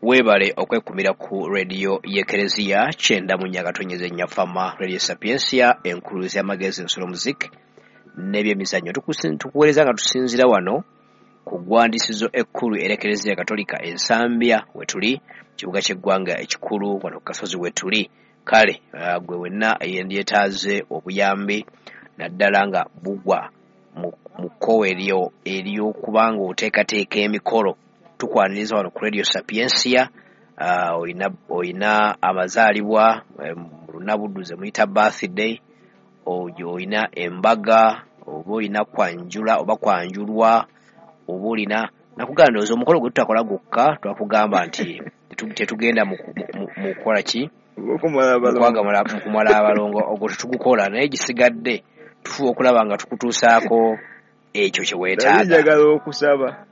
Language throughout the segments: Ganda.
Weebale okwekumira ku rediyo y'Ekereziya 94.4 Fama Radio Sapientia, enkuluzi y'amagezi, ensolo, muziki n'ebyemizannyo. Tukuweereza nga tusinziira wano ku ggwandisizo ekkulu er'Ekereziya Katolika Ensambya wetuli, kibuga ky'eggwanga ekikulu, wano ku kasozi wetuli. Kale gwe wenna eyendyetaaze obuyambi, naddala nga bugwa mu kkowe eryo ery'okuba nga oteekateeka emikolo, tukwaniriza wano ku Radio Sapientia. Oyina amazaalibwa, mu Lunabuddu ze muyita birthday, oyina embaga, oba oyina kwanjula oba kwanjulwa, oba olina nakugamba, ndowooza omukolo gwe tutakola gwokka, twakugamba nti tetugenda mu kukola ki? Mu kumala abalongo, ogwo tetugukola, naye gisigadde tufuba okulaba nga tukutuusaako ekyo kye weetaaga. Njagala okusaba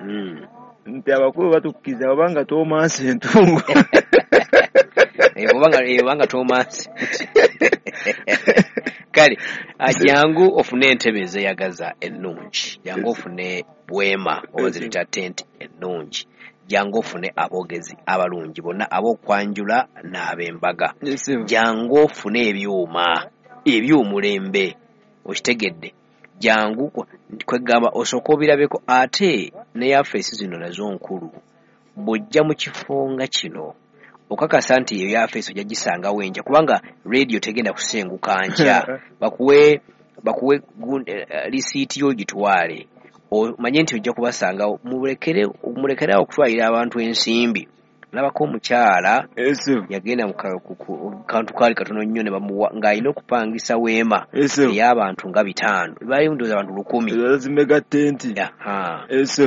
nti abakulu batukkiriza obanga toomansi entungo. Obanga toomansi. Kale jangu ofune entebe ezeeyagaza ennungi, jangu ofune weema oba ziyita tent ennungi, jangu ofune aboogezi abalungi bonna ab'okwanjula n'ab'embaga, jangu ofune ebyuma eby'omulembe, okitegedde? Jangu kwegamba osooka obirabeko. Ate ne yafeesi zino nazo nkulu. Bw'ojja mu kifo nga kino, okakasa nti eyo yafeesi ojja gisangawo enkya, kubanga rediyo tegenda kusenguka nkya. Bakuwe lisiiti yo ogitwale, omanye nti ojja kubasangawo. Mulekere awo okutwalira abantu ensimbi. Nalabako omukyala yagenda mu kantu kaali katono nnyo ne bamuwa ng'alina okupangisa weema ey'abantu nga 500, baali ndowooza abantu 1000. Zimega tenti.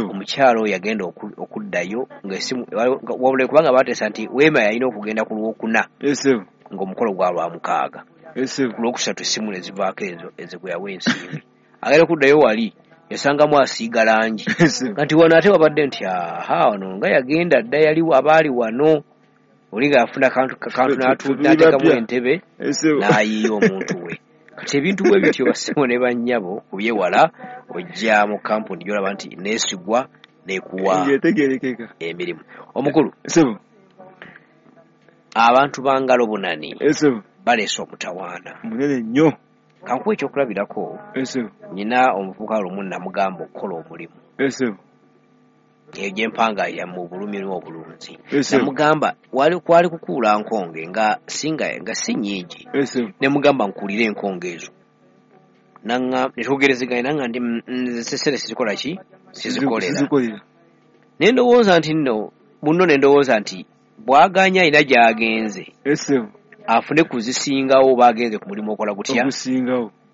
Omukyala oyo yagenda okuddayo ng'essimu wabula kubanga baateesa nti weema yalina okugenda ku Lwokuna ng'omukolo gwa Lwamukaaga. Ku Lwokusatu essimu ne zivaako ezo ezo gwe yawa ensimbi. Agenda okuddayo wali yasangamu asiiga langi nti wano ate wabadde nti aha wano nga yagenda dda, yaliwo abaali wano oli nga yafuna kantu n'ateekamu entebe n'ayiiya omuntu we. Kati ebintu bwe bityo, bassebo ne bannyabo, kubyewala ojja mu kampuni gy'olaba nti neesigwa n'ekuwa emirimu. Omukulu, abantu ba ngalo bunani baleese omutawaana munene nnyo. Kankuwa ekyokulabirako, nyina omuvubuka lumu namugamba okukola omulimu eyo gyempanga ya mu bulumi n'obulunzi. Namugamba kwali kukuula nkonge nga si nnyingi, ne mugamba nkuulire enkonge ezo, ne twogerezeganya, nanga ndi nze sesere sizikola ki, sizikolera. Ne ndowooza nti nno munno, ne ndowooza nti bw'aganya alina gy'agenze afune kuzisingawo, oba agenze ku mulimu okola gutya ogusingawo.